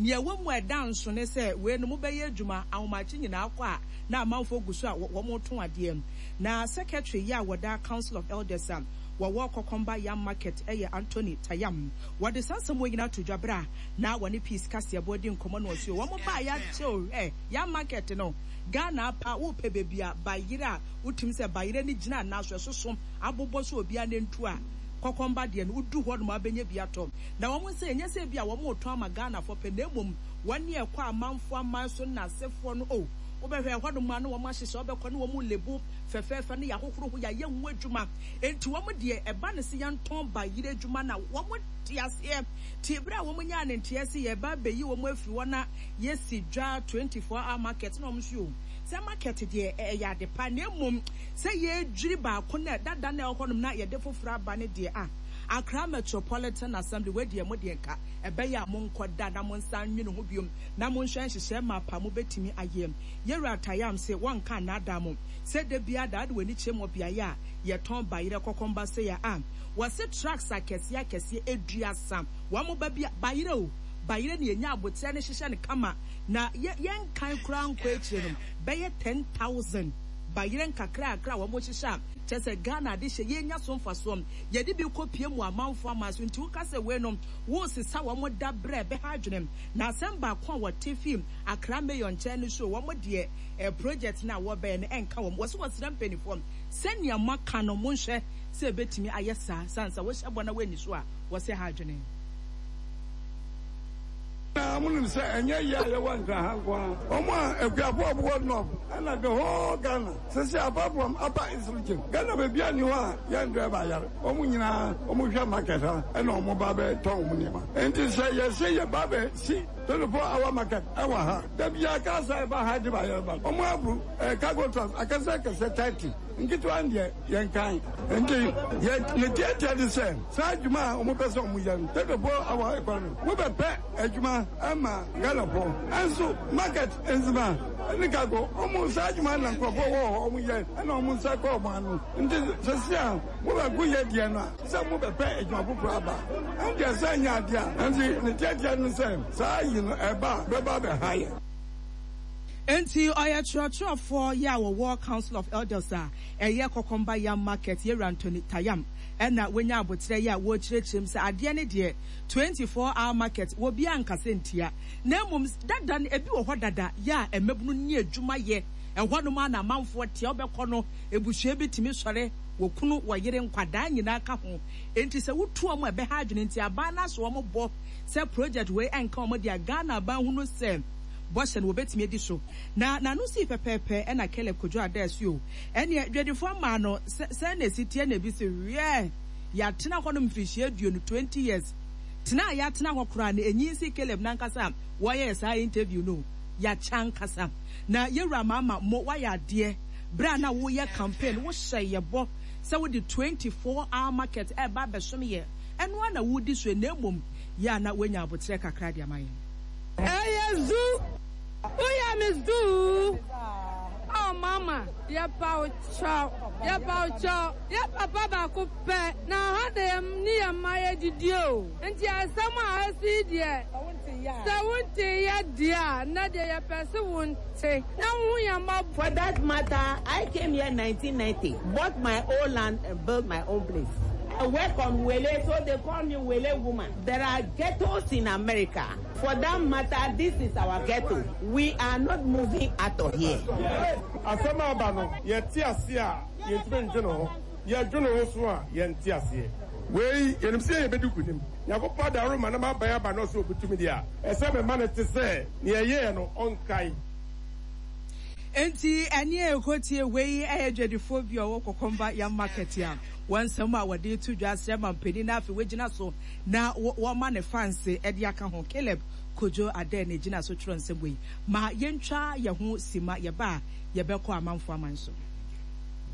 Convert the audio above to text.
Nea ɛwɔ mu a ɛda nso ne sɛ wei no mobɛyɛ adwuma ahomakye nyinaa kɔ a na amanfoɔ gu so a wɔretɔn adeɛ. Na secretary yi a wɔda Council of Elders a wɔwɔ Kɔkɔmba Yam Market yɛ Anthony Tayam. Wɔde saa nsɛm wei nyinaa to dwa berɛ a na wɔne Peace Kaseɛbɔ redi nkɔmmɔ no ɔse wɔn baa yɛakyɛ o hwɛ Yam Market no Ghana apa wopɛ baabi a bayerɛ a wotumi sɛ bayerɛ no gyina anaa so ɛsoso abobɔ so obiara nantu a Kɔkɔmba deɛ no wodu hɔ nom a wobɛnya bi atɔ. Na wɔn nsa ɛnyɛ sɛ ebia wɔretɔn ama Ghanafoɔ pɛ na mmom wɔn ne ɛkɔ amanfoɔ aman so nnasefoɔ no oh wobɛhwɛ ɛhɔnom a na wɔn ahyehyɛ wobɛkɔ ne wɔn lebo fɛfɛɛfɛ ne yɛahohoro ho yɛayɛ ho adwuma enti wɔn deɛ ɛba no sɛ yɛntɔn bayerɛ adwuma no a wɔn te aseɛ te berɛ a wɔn nyaa ne nteɛ sɛ yɛreba abɛyi wɔn afiri hɔ na yɛsi dwa 24 hour market na wɔn nso o sɛ market deɛ ɛyɛ ade pa na mmom sɛ yɛredwiri baako na dada na ɛwɔ hɔnom na yɛde foforɔ aba ne deɛ a Accra Metropolitan Assembly wei deɛ mo deɛ nka ɛbɛyɛ a monkɔ da na monsan nwene ho biom na monhwɛ nhyehyɛɛ map a mobɛtumi ayɛ. Yɛwura Tayam se wɔnka nnaadaa mo sɛ da biara da wode w'ani kyerɛ mu wɔ beaeɛ a yɛtɔn bayerɛ kɔkɔmba sei a a wɔse trucks akɛseɛ akɛseɛ aduasa wɔn ba bi a bayerɛ o bayerɛ ne yɛnya aboterɛ no hyehyɛ no kama na yɛ yɛnkan koraa nkɔ akyire no bɛyɛ 10,000 bayerɛ nkakrakra a wɔn hyehyɛ a kyerɛ sɛ Ghana adehyɛ yɛnya so mfasoɔ. Yɛde bi kɔ pie mu amanfoɔ aman so nti woka sɛ wei no woresesa wɔn da berɛ ɛbɛha adwene. Na asɛm baako a wɔte firi Accra Mayor nkyɛn no so wɔn deɛ eh, project no a wɔbɛyɛ no ɛnka wɔn. Wɔse wɔsrɛ mpaninfoɔ sɛnea moaka no monhwɛ sɛ ɛbɛtumi ayɛ saa sane sɛ wohyɛ bɔ na woanni so a wɔse ɛha adwene. Na monim sɛ ɛnyɛ yɛ a yɛwɔ Nkran ha nko ara, wɔn a akuafo a wɔwɔ North ɛna the whole Ghana. Sese apart from upper east region, Ghana baabiara nni hɔ a yɛn driver yare. Wɔn nyinaa wɔn hwɛ market ha ɛna wɔn ba bɛ tɔn wɔn nneɛma. Nti sɛ yɛse yɛ ba bɛ si 24 hour market ɛwɔ ha, da biara cars a ɛba ha de ba yɛreba no, wɔn abu ɛɛ cargo trucks akɛse akɛse 30, nketewa no deɛ yɛn kan. Nti yɛ ne tiatia de sɛ saa adwuma a wɔn pɛ sɛ wɔn yɛ no 24 hour economy, mo bɛ pɛ adwuma ɛma Ghana foɔ. Ɛnso market nzema. Ɛne cargo, wɔn saa adwuma na nkurɔfoɔ wɔ hɔ wɔn yɛ ɛna wɔn nsa kɔ wɔn ano. Nti sɛsi a mo bɛ gu yɛ deɛ no a sɛ mo bɛ pɛ adwuma foforɔ aba ɛndeɛ sɛ nyɛ adeɛ a nti ne tiatia no sɛ saa yi no ɛba a bɛba bɛ ha yɛ. Enti ɔyɛ kyerɛkyerɛfoɔ yɛ a wɔwɔ Council of Elders a ɛyɛ Kɔkɔmba Yam Market Yɛwura Anthony Tayam ɛna wanya aboterɛ yɛ a wɔrekyerɛkyerɛ mu sɛ adeɛ no deɛ 24 hour market wɔbiara nkasa ntia Na mmom dada no, ebi wɔ hɔ dada yɛ a mmabunu nni adwuma yɛ. Ɛhɔnom ara na amanfoɔ te a wobɛkɔ no, abusua bi tumi sɔre, wɔ kunu, wɔ yere, nkwadaa nyinaa ka ho. Enti sɛ wotu wɔn a, ɛbɛha adwene. Nti aban no asɔ wɔn bɔ sɛ project wei ɛnka wɔn deɛ a, Ghana aban hunu sɛ bɔhyɛ no wɔbɛtumi adi so. Na n'ano sii pɛpɛɛpɛ ɛna Caleb Kojo Adaasuo. Ɛneɛ dwadifoɔ mmaa no, sɛ sɛn na ɛsi teɛ na ebi se wiɛɛ, yɛatena hɔnom mfirihyia aduonu, 20 years, Tena a yɛatena hɔ koraa no, enyin sen Caleb n'ankasa a wɔyɛɛ saa interview no o. Yɛakyɛ ankasa. Na yɛwura Mama Mo woayɛ adeɛ. Berɛ a na woyɛ campaign no, wohyɛɛ yɛ bɔ sɛ wode 24 hour market ɛreba abɛsom yɛ. Ɛno ara na woredi so yi, na mmom yɛ a na woanya aboterɛ kakra de ama yɛn. Ɛyɛ zu, woyɛ me zu. Oh mama, yɛpa wo kyɛw, yɛpa wo kyɛw. Yɛ papa baako pɛ na ha na yɛ ne yɛ mma yɛ didi o. Nti asɛm a asi yi deɛ sɛ wo nte yɛ deɛ a nnɛ deɛ yɛ pɛ se wo nte na wo hu yɛn mmɔbɔ. For that matter, I came here 1990, bought my own land and built my own place. I work on Wele, so they call me Wele woman. There are ghettos in America. For that matter, this is our ghetto. We are not moving out of here. Asɛm a aba no, yɛte ase a, yɛntumi ndwene ho. Yɛdwene ho so a, yɛnte aseɛ. Wei, yɛnim sɛ yɛbɛdi nkonim. Nyankopɔn adaworo ma na m'aban aba na ɔsɛ ɔbɛtumi deɛ a, ɛsɛ mema no te sɛ nea ɛyɛɛ no, ɔnkae. Enti ɛne a ɛkɔtie wei yɛ dwadifoɔ bi a ɔwɔ Kɔkɔmba Yam Market a wɔn nsɛm a wɔde reto dwa asrɛ mampanin na afei wagyina so na wɔma ne fanse de aka ho. Caleb Kojo Adeh na ɛgyina so twerɛ nsɛm wei. Ma yɛntwa yɛn ho simma, yɛba a yɛbɛkɔ amanfoɔ aman so.